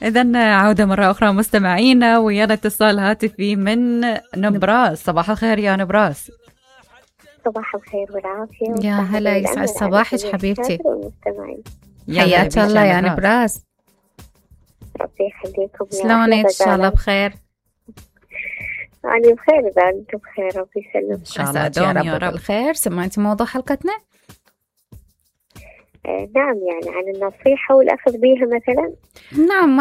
إذن عودة مرة أخرى مستمعينا، ويانا اتصال هاتفي من نبراس. صباح الخير يا نبراس. صباح الخير والعافية. يا هلا، يسعد صباحك حبيبتي. حياك الله يا نبراس. ربي يخليكم. شلونك؟ إن شاء الله بخير. أنا بخير إذا أنتم بخير. ربي يسلمك. إن شاء الله دوم يا رب بالخير. سمعتي موضوع حلقتنا؟ نعم، يعني عن النصيحة والأخذ بيها مثلا. نعم،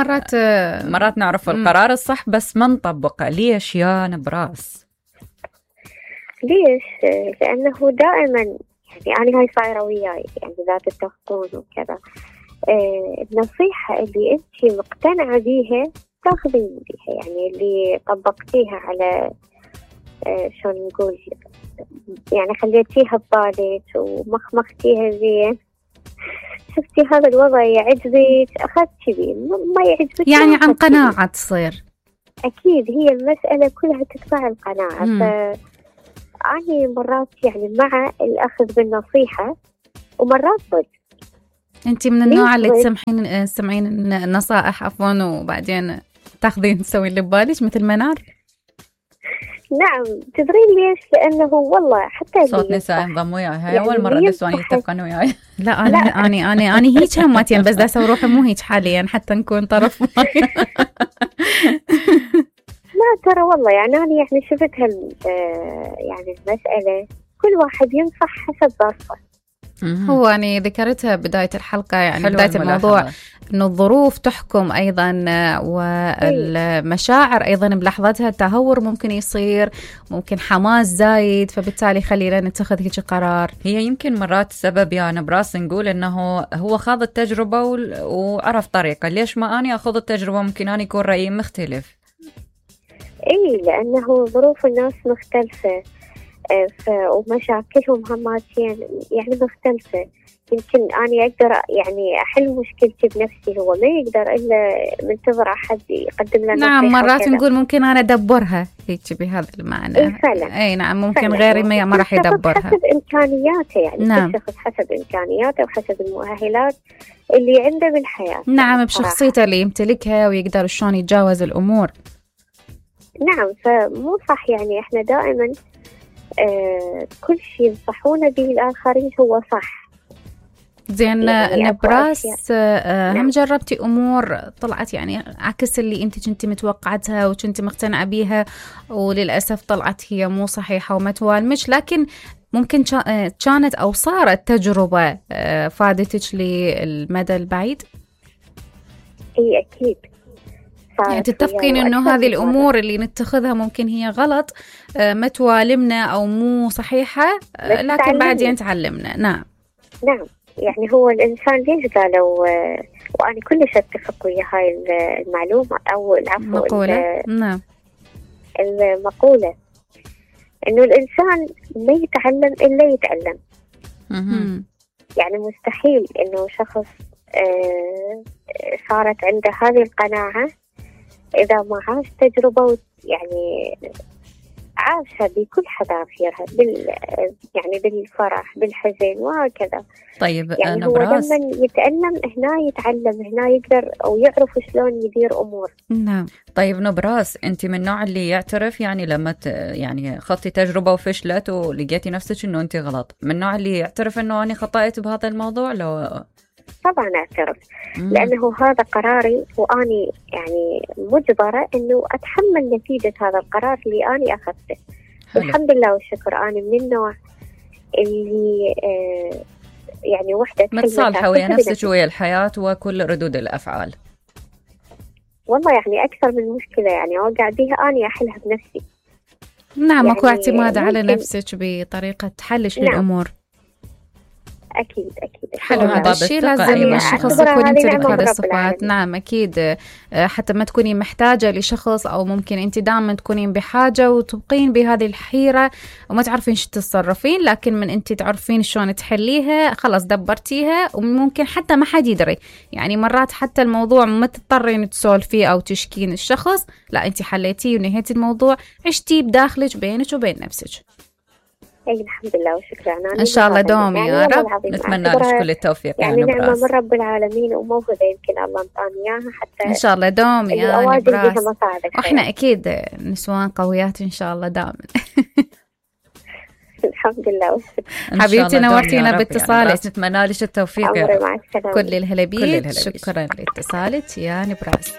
مرات نعرف القرار الصح بس ما نطبقه. ليش يا نبراس؟ ليش؟ لأنه دائما يعني أنا هاي صايرة وياي، يعني ذات التفقون وكذا. النصيحة اللي أنت مقتنعة بيها تاخذين بيها، يعني اللي طبقتيها على شلون نقول، يعني خليتيها ببالك ومخمختيها زين، شفتي هذا الوضع يعجبك أخذتي بيه، ما يعجبك يعني عن قناعة تصير. أكيد هي المسألة كلها تتبع القناعة. فأني مرات يعني مع الأخذ بالنصيحة ومرات ضد. أنت من النوع اللي تسمعين النصائح عفوا وبعدين تاخذين تسوين اللي ببالك مثل منار؟ نعم، تدرين ليش؟ لأنه والله حتى صوت نساء انضم وياي. هاي أول مرة نسوان يتفقون وياي. لا أنا هيك همتين، بس دا أسوي روحي مو هيك حاليا حتى نكون طرف معي. لا ترى والله يعني أنا يعني شفت يعني المسألة كل واحد ينصح حسب ظروفه. هو أنا ذكرتها بداية الحلقة، يعني بداية الموضوع إنه الظروف تحكم أيضا، والمشاعر أيضا بلحظتها التهور ممكن يصير، ممكن حماس زايد، فبالتالي خلينا نتخذ هيك قرار. هي يمكن مرات سبب يا نبراس نقول إنه هو خاض التجربة وعرف طريقة، ليش ما أنا أخذ التجربة؟ ممكن أنا يكون رأيي مختلف. إيه، لأنه ظروف الناس مختلفة، ومشاكلهم هماتين يعني مختلفة. يمكن أنا أقدر يعني أحل مشكلتي بنفسي، هو ما يقدر إلا منتظر أحد يقدم لنا. نعم، مرات نقول ممكن أنا أدبرها هيك بهذا المعنى. إيه فعلا. أي نعم، ممكن غيري ما راح يدبرها حسب إمكانياته، يعني نعم. كل شخص حسب إمكانياته وحسب المؤهلات اللي عنده بالحياة. نعم، بشخصيته اللي يمتلكها ويقدر شلون يتجاوز الأمور. نعم، فمو صح يعني إحنا دائما كل شيء ينصحونا به الآخرين هو صح. زين يعني نبراس، هم جربتي أمور طلعت يعني عكس اللي أنت كنتي متوقعتها وكنتي مقتنعة بيها، وللأسف طلعت هي مو صحيحة وما توالمش، لكن ممكن كانت أو صارت تجربة فادتك للمدى البعيد؟ إيه أكيد. يعني تتفقين إنه هذه الأمور اللي نتخذها ممكن هي غلط، ما توالمنا أو مو صحيحة، لكن بعدين تعلمنا. نعم يعني هو الإنسان ليش قالوا، وأنا كلش أتفق ويا هاي المعلومة أو العفو مقولة. نعم، المقولة إنه الإنسان ما يتعلم إلا يتعلم. يعني مستحيل إنه شخص صارت عنده هذه القناعة إذا ما عاش تجربة، يعني عاشها بكل حذافيرها، يعني بالفرح بالحزن وهكذا. طيب يعني هو لما يتعلم هنا يقدر أو يعرف شلون يدير أمور. نعم. طيب نبراس، أنت من النوع اللي يعترف يعني لما يعني خضتي تجربة وفشلت ولقيتي نفسك إنه أنت غلط، من النوع اللي يعترف إنه أنا خطأت بهذا الموضوع؟ لو طبعا أعترف، لأنه هذا قراري وأني يعني مجبرة إنه أتحمل نتيجة هذا القرار اللي أنا أخذته. الحمد لله والشكر أنا من النوع اللي يعني وحدة متصالحة ويا نفسك ويا الحياة وكل ردود الأفعال. والله يعني أكثر من مشكلة يعني أوقع بيها أني أحلها بنفسي. نعم، أكو يعني اعتماد على نفسك بطريقة حلش للأمور. أكيد حلو، هذا الشيء لازم الشخص يكون يمتلك هذه الصفات. نعم أكيد، حتى ما تكوني محتاجة لشخص، أو ممكن أنت دائما تكونين بحاجة وتبقين بهذه الحيرة وما تعرفين شو تتصرفين، لكن من أنت تعرفين شلون تحليها خلاص دبرتيها، وممكن حتى ما حد يدري. يعني مرات حتى الموضوع ما تضطرين تسولفيه أو تشكين الشخص، لا أنت حليتيه ونهيتي الموضوع، عشتي بداخلك بينك وبين نفسك. اي الحمد لله وشكرا. ان شاء الله دومي يا رب. نتمنى لك كل التوفيق يعني نعمة من رب العالمين وموهبة يمكن الله انطاني اياها حتى ان شاء الله دومي يا نبراس. واحنا اكيد نسوان قويات ان شاء الله دائما. الحمد لله حبيبتي نورتينا باتصالك. نتمنى لك التوفيق يا رب. مع السلامة. كل الهلا بيك. شكرا لاتصالك يا نبراس.